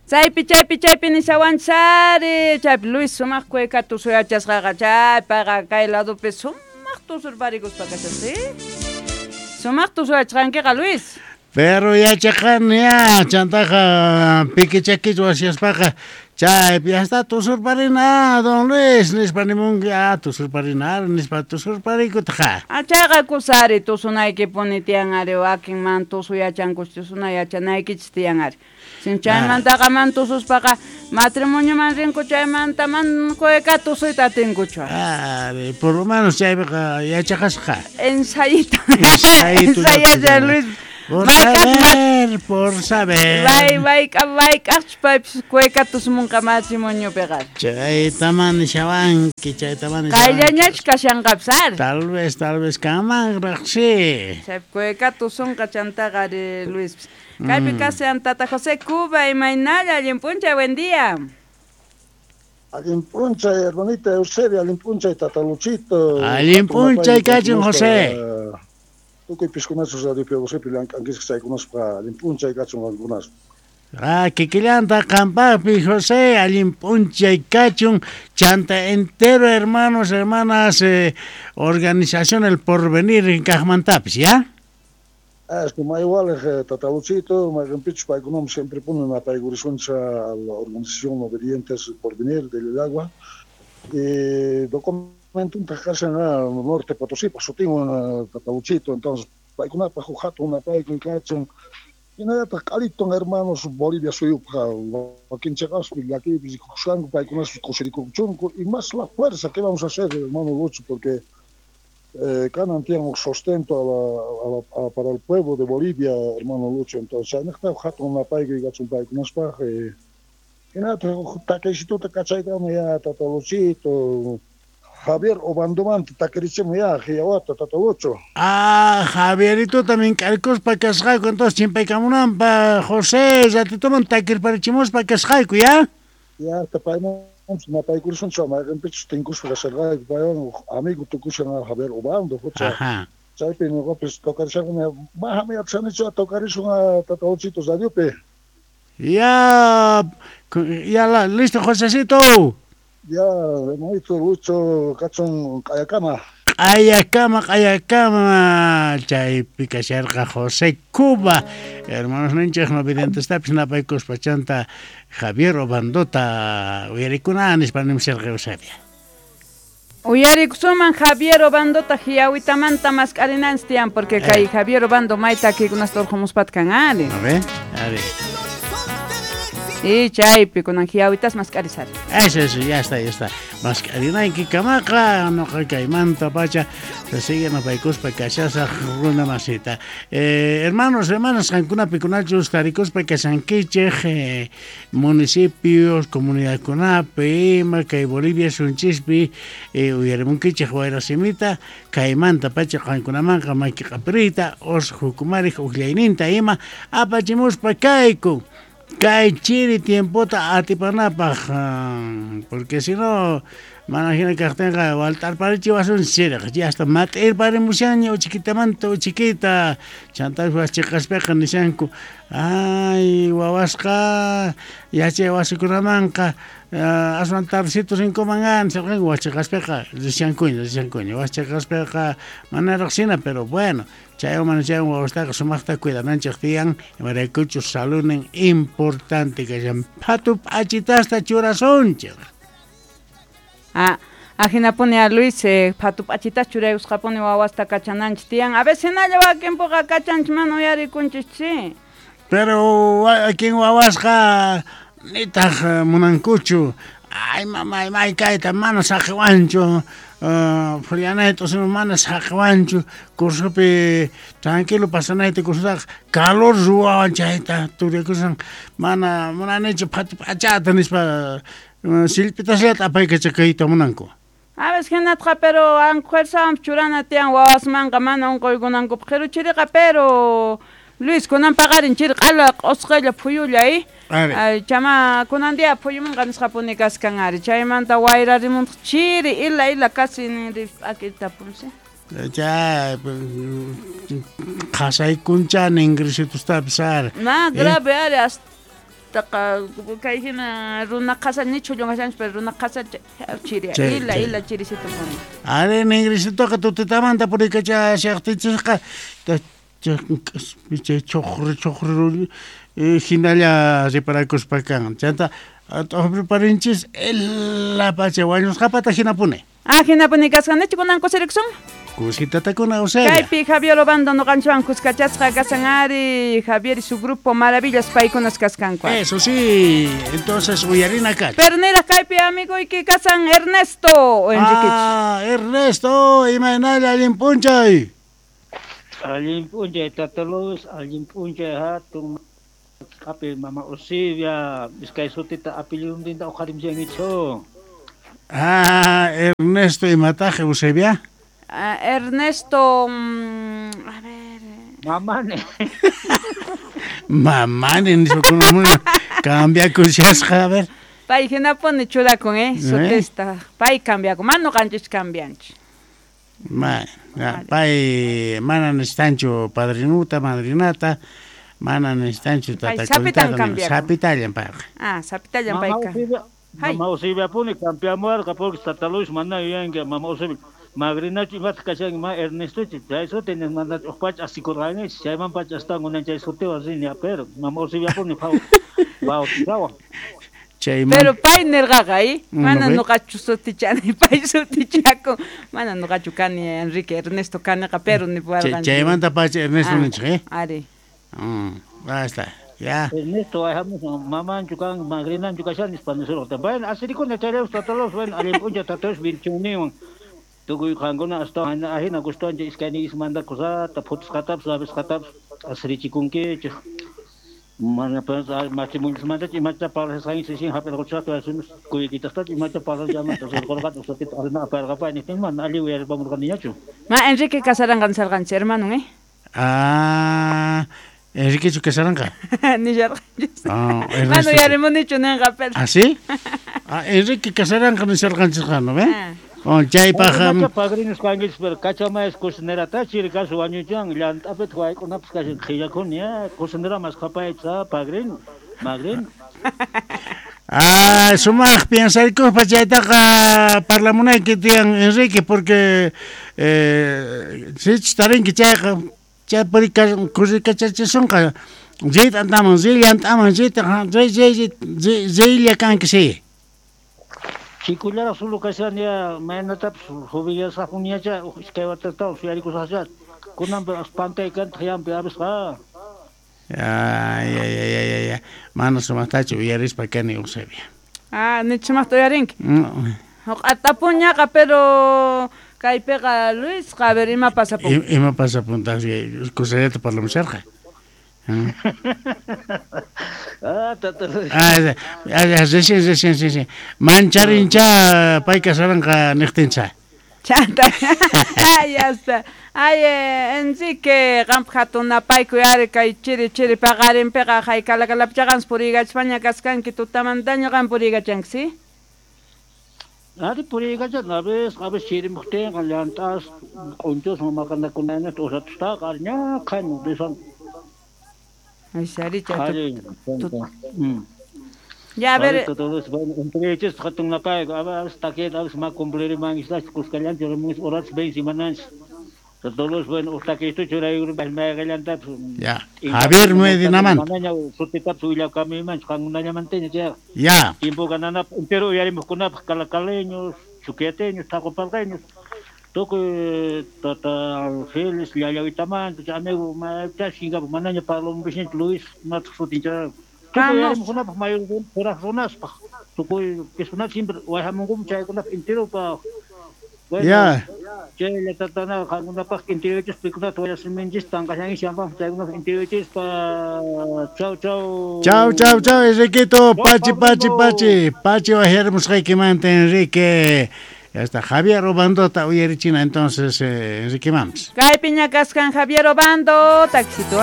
Chaypi, chaypi, chaypi nishawanchis ari. Chaypi Luis sumaq cueca tusuyachasqaqa chaypaqa kay ladopi sumaq tusurparikuspa kashasqa. Sumaq tusuyachqankiqa Luis. Pero yachaqani ya, chantaqa pikichakich wasyaspaqa chaypi hasta tusurparina, don Luis, nispa nimunki, ah, tusurparina, nispa tusurparikutaqa. Ah, chayqa kusari tusunaykipuni tiyan ari, wakin man tusu yachankuch, tusuna yachanaykichis tiyan ari. Sin chaymantaqa man tususpaqa matrimonioman rinku chaymanta man cueca tusuyta atinkuchu. Ari, por lo menos chaypiqa yachaqasqa. Ensayito. Ensayasha Luis. Por saber, por saber. May mayk'aqchus paypis cueca tusumunqa matrimoniopiqa. Chaytaman nishawanki, chaytaman nishawanki. Qayllañachus kashanqapis ari. Tal vez, tal vez kanmanraq, sí. Chaypi cueca tusunqa chantaqa ari Luispis. Kaypi kashan Tata José Cuba, imaynalla, allin p'unchay, buen día. Allin p'unchay, hermanita Eusebia, allin p'unchay, Tata Luchito. Allin p'unchay kachun, José. Tukuy piskunachus Radio Piadosepi llank'ankisqa chaykunaspa allin p'unchay kachun qankunas. Ah, kikillanta qampaqpi, José, allin p'unchay kachun, chanta entero hermanos, hermanas, organización El Porvenir kaqmantapis, ya? Ah, es que may igual, Tata Luchito, mayqinpichus paykunaman siempre ponen apaykurishuncha a la organización Obedientes Porvenir del Agua. Documentuntaq kashan Norte Potosí, sutinwan Tata Luchito, entonces paykunapaq huk hatun napaykuy kachun. Hinallataq q'aliton hermanos Bolivia suyupaq wakin chiqaspi llakiypi rikukusqanku paykunas kusirikuchunku y más la fuerza que vamos a hacer, hermano Lucho, porque kanan tiyan huk sustento para el pueblo de Bolivia, hermano Lucho, entonces chaynaqta hatun napaykuy kachun paykunaspaq. Hinallataq huk takisituta kachaykamu ya Tata Luchito, Javier Obandomanta takirichimu ya hiyawata Tata Lucho. Ah, Javierito también k'arikuspa kasqayku, entonces chimpaykamunanpa José ratituman takirparichimuspa kasqayku, ya? Ya, payman napaykurishunchu mayqinpichus tinkuspa kasharqayku paywan amigo tukushan Javier Obando, hucha. Chaypi ñuqapis tocarishaqmi, mahami yachanichu tocarishun Tata Luchito radiopi. Ya, ya la, listo Josecito. Ya, hermanito Lucho, kachun q'ayakama. Q'ayakama, q'ayakama, chaypi kasharqa José Cuba. Hermanos ninchej no videntestapis napaykuspa chanta Javier Obandota uyarikuna nispa nimsirqa Eusebia. Uyarikusuman Javier Obandota hiyawitamanta mask'arinanchis tiyan, porque kay Javier Obando mayta takikunasta urqhumuspat kan ari. A ver, a ver. Y chaypi kunan hiyawitas mask'arisar. Eso, eso, ya está, ya está. Mask'arinayki kamaqa noqa kaymanta pacha se sigue napaykuspa kashasaq runa masita. Hermanos, hermanas, qankunapi kunachus tarikuspa kashankichej municipios, comunidadkunapi, ima kay Bolivia sunchispi uyarimunkichej wayrasimita kaymanta pacha qankunamanqa maki q'apiriyta os jukumarij uqllayninta ima apachimuspa kayku. Kay chiri tiempota atipanapaq, porque si no mana hina kaqtinqa walt'arparichiwasun chiriq, ya hasta mat'irparimushanña uchikitamanta uchikita, chantapis wasichiqaspiqa nishanku, ay wawasqa yachay wasikunamanqa aswan tardecito rinkuman nisharqanku wasichiqaspiqa rishankuña, rishankuña, wasichiqaspiqa mana riqsina, pero bueno, chaywan mana chaywan wawastaqa sumaqta cuidananchik tiyan, imaraykuchus salunin importante kashan, phatu p'achitasta churasunchik. Ah, ajinapuni a Luis, phatu p'achitas churayusqapuni wawasta kachananchik tiyan, a veces hinalla wakinpuqa kachanchik mana uyarikunchik chi. Pero wakin wawasqa nitaq munankuchu, ay mamay may kayta mana saqiwanchu, phullanayta usima mana saqiwanchu, cursopi tranquilo pasanayta cursotaqa calor ruwawan chayta turiakusan mana munanichu phatu p'achata nispa sillpitasllata apaykachakayta munanku. A veces hinatqa pero anjuerzawan churana tiyan wawasmanqa mana unquykunankupaq qiru chiriqa, pero Luis kunan paqarin chiri q'ala q'usqalla phuyulla, Ari. Chama kunan día phuyumunqa nisqapuni kaskan ari, chaymanta wayrarimuntaq chiri ila ila casi ninri p'akita punsi. Chay qhasaykuncha ningrisitustapis ari. Ma grave ari hasta Taqa kay hina runa qhasa nichu llunqashanchu pero runa qhasa chiri ila ila chirisito puni. Are ningrisitoqa tutitamanta purikachashaqtinchisqa chay chuqru chuqru hinalla riparakuspa kan. Chanta t'uqriparinchis ila pacha wañusqapata hinapuni. Ah, hinapuni kasqanichu kunan kusirikusun? Kusitatakuna Eusebia. Kaypi Javier Obando noqanchwan kuskachasqa kasan ari Javier y su grupo Maravillas paykunas kaskanku. Eso sí, entonces uyarina kach. Pero niraq kaypi amiguyki kasan Ernesto o Enriquich. Ah, Ernesto, imaynalla allin p'unchay. Allin p'unchay Tata Luis, allin p'unchay hatun api mama Eusebia, iskay sutita apelliduntinta uqharimchankichu. Ah, Ernesto imataq Eusebia? Ah, Ernesto, a ver. Mamani. Mamani nispa kunan cambiakushasqa, a ver. Pay hinapuni churakun, sutista. Pay cambiakun, mana ñuqanchis cambianchis. Ma, pay mana necesitanchu padrinuta, madrinata, mana necesitanchu tatakunata, sapitallan payqa. Ah, sapitallan payqa. Mama Eusebiapuni cambiamuwarqa porque Tata Luis mana yuyanki mama Eusebia magrinachu imataq kashanki ma Ernestochu chay suti mana uj pacha asikurqanichu chayman pacha astawan kunan chay sutiwan rini pero mama Eusebiapuni bautizawan. Pero pay nirqaqa, mana ñuqachu sutichani, pay sutichakun, mana ñuqachu kani Enrique Ernesto kaniqa, pero nipuwarqanchik. Chaymanta pacha Ernesto ninchik, Ari. Basta. Ya. Ernesto, mamanchu kan, magrinanchu kashan nispa nisurqata. Bueno, asirikuna chayllapas Tata Luis, bueno, allin p'unchay Tata Luis binchunniwan. Tukuy qankuna astawan ahina gustuwanchik iskayniykismanta kusata, phutisqatapas, rabisqatapas asirichikunkichik. Mana matrimoniomantachu imata parlasqanchik sin hap'irquchaqta asumis kuykichaqtachu imata parlasqanmanta surqurqata sutita arina aparqapani niqtin mana allin uyaripamurqaniñachu. Ma Enrique casaranqa nisarqanchik hermano, Ah, Enriquechu casaranqa? Nisharqanchis. Mana uyarimunichu ninqa, pero. ¿Ah, sí? Ah, Enrique casaranqa nisharqanchisqa, ¿no ve? Oh, chaypaq padrinos kankichis, pero kachamayas cocinera chiri kasu wañuchan llant'apitaq wayk'unapas kashan qhillakuni, cocinera maskhapaychis, padrino, madrino. Ah, sumaq piensarikuspa chaytaqa parlamunayki tiyan Enrique, porque sichus tarinki chayqa chay kurikachachisunqa riyta antaman, riy llant'aman, riyta riylla kanki sí. Chikullaraq sulu kashani ya maynatapas jubilasqapuniñacha iskay watatawan suyarikusaqcha kunanpi pantay kantaq yampi abisqa. Ay, ay, ay, ay, ay, mana sumaqtachu uyarispa kani Eusebia. Ah, nichu sumaqta uyarinki. Huq'atapuñaqa, pero kaypiqa Luisqa, a ver, ima pasapun. Ima pasapuntaq kusallata parlamusharqa. Ah, Tata Luis. Ah, recién. Mancharincha pay casaranqa niqtincha. Chanta. Ay, ya está. Ay, Enrique, qanpaq hatun napaykuy ari kay chiri chiri paqarinpiqa haykalakalapichaqansi puriykachaspaña kaskanki tutamantaña qan puriykachanki, sí? Ari puriykachan, a veces chirimuqtinqa llant'as q'unchuswan maqanakunanata usatustaqa ari ñaqhayman risan. Ay, saricha. Ya, a ver. Entrechis hatun napayku, a veces taqueta, a veces ma cumplirimankistachu kuskallanchik horas vencimananchis. Todos bueno, utaquisto churaykurpas mayqallantapas. Ya. Javier Medinamanta. Manaña sutitapas willakamimanchu qankunallamantaña chayqa. Ya. Tiempo gananapaq entero uyarimuqkunapaq calacaleños, chuquiateños, taqopalqeños. Tukuy tata Félix llallawitamanta chay amigo mayta shinkapak manaña parlamunpishñachu Luis mataq sutin chay. Tukuy uyarimuqkunapaq mayor kuraq runaspaq. Tukuy personas siempre wayhamunkuman chaykunapaq enteropaq. Ya. Chay tatana qankunapaq interiorchis pikunata wayasiminchis tanqashanchis yanpaq chaykunapaq interiorchispa. Chau chau. Chau chau chau Enriquito, pachi pachi pachi. Pachi wajarimusqaykimanta Enrique. Ya está Javier Obandota uyarichina entonces Enrique Mams. Kaypiña kaskan Javier Obando, taxito.